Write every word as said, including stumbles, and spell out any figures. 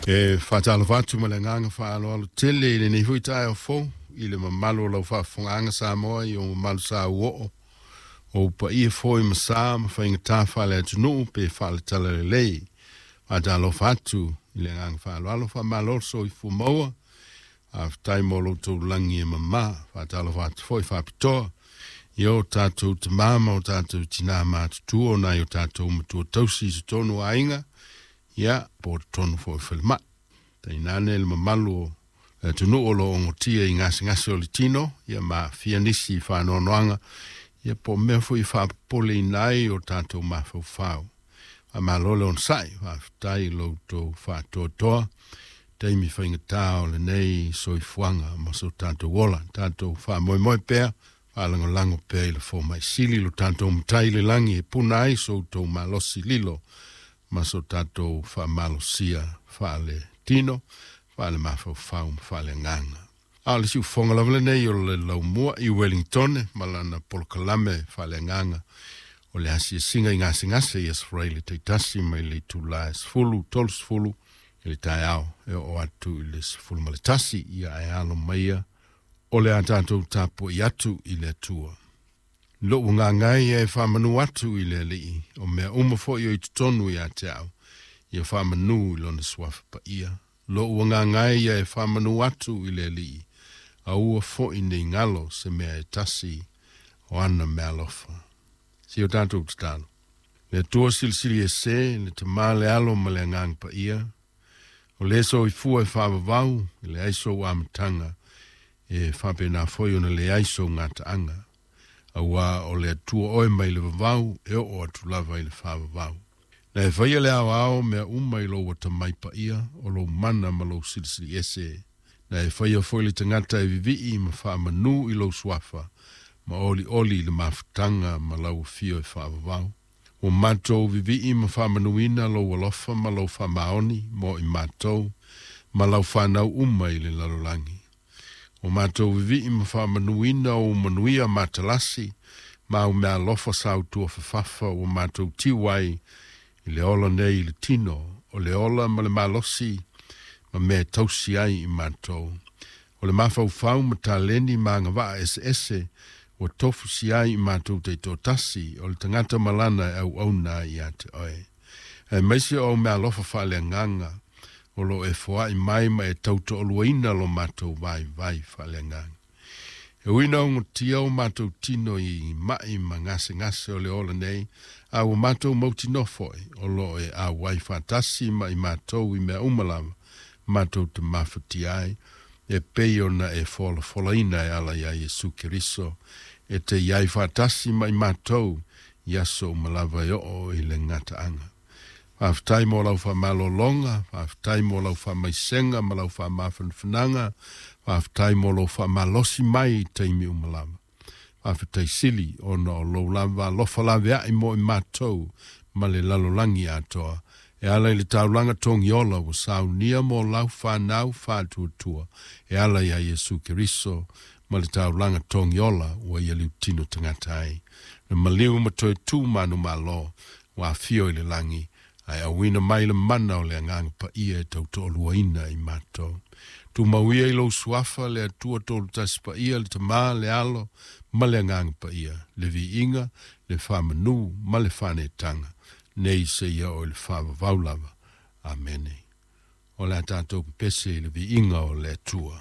E faatalofa atu ma le agaga faaaloalo tele i lenei foi taeao fou i le mamalu o lau faafofogaaga Samoa i ou mamalu sa uoo o paia foi ma sa ma faigata faale-atunuu pe faale-talalelei. Faatalofa atu i le agaga faaaloalo, faamalo le soifua maua, faafetai mo lo outou lagi e mamā. Faatalofa atu foi faapitoa i o tatou tamā ma o tatou tinā matutua o nai o tatou matua tausi i totonu o aiga, ia po o totonu foi o falemai. Tainane le mamalu o le atunuu o lo o ogotia i gasegase o le tino, ia ma aafia nisi i faanoanoaga, ia po o mea foi e faapopoleina ai o tatou mafaufau. Faamalo le onosai, faafetai i lo outou faatoatoa taimi faigata o lenei soifuaga ma so tatou ola. Tatou faamoemoe pea, faalagolago pea i le fomai sili lo tatou Matai i le lagi e puna ai so outou malosi lilo ma so tatou faamalosia faale-tino, faale-mafaufau ma faale-agaga. A o le siufofoga lava lenei o le laumua i Wellington ma lana polokalame faaleagaga o le asiasiga i gasegase i Aso Faraile taitasi mai le itula e sefulu tolusefulu i le taeao e oo atu i le sefulu ma le tasi, ia ae alo maia o le a tatou tapuai atu i le Atua. Lou agaga e ia e faamanu atu i le Alii, o mea uma foi o i totonu ia te au, ia faamanu i lona suafa paia. Lou agaga e ia e faamanu atu i le Alii, aua foi nei galo se mea e tasi o ana meaalofa. Se i o tatou tatalo. Le Atua silisili ese, le Tamā le Alo ma le Agaga Paia, o le soifua e faavavau, e leai sou amataga, e faapena foi ona leai sou gataaga. Auā o le Atua oe mai le vavau, e oo atu lava i le faavavau. Na e faia le aoao mea uma i lou atamai paia, o lou mana ma lou silisili ese. Na e faia foi le tagata e vivii ma faamanu i lou suafa, ma olioli i le mafutaga ma lau afio e faavavau. Ua matou vivii ma faamanuina lou alofa ma lou faamaoni mo i matou, ma lau fanau uma i le lalolagi. Ua matou vivii ma faamanuina ou manuia matalasi, ma au meaalofa sautuafafafa ua matou tiu ai i le ola nei i le tino, o le ola ma le malosi ma mea e tausi ai i matou. O le mafaufau ma taleni ma agavaa eseese ua tofusia ai i matou taitoatasi, o le tagata ma lana e auauna ai ia te oe. Aemaise o au meaalofa faaleagaga o lo o e foai mai ma e tautoaluaina lo matou vaivai faaleagaga. E ui ina ogotia o matou tino i mai ma gasegase o le ola nei, a ua matou mautinoa foi o lo o e auai faatasi ma i matou i mea uma lava matou te mafatia ai, e pei ona e folafolaina e ala iā Iesu Keriso, e te i ai faatasi ma i matou i aso uma lava e oo i le gataaga. Faafetai mo lau faamalologa, faafetai mo lau faamaisega ma lau faamafanafanaga, faafetai mo lou faamalosi mai i taimi uma lava. Faafetai sili ona o lou lava alofa laveai mo i matou ma le lalolagi atoa, e ala i le taulaga togiola ua saunia mo lau fanau faatuatua, e ala iā Iesu Keriso ma le taulaga togiola ua ia liutino tagata ai. Na maliu ma toe tu manumalo ua afio i le lagi, ae auina mai le mana o le Agaga Paia e tautoaluaina i matou. Tumau ia i lou suafa le Atua tolu tasi paia, le Tamā, le Alo ma le Agaga Paia, le viiga, le faamanu ma le faanetaga, nei seia oo i le faavavau lava. Amene. O le a tatou pepese i le viiga o le Atua.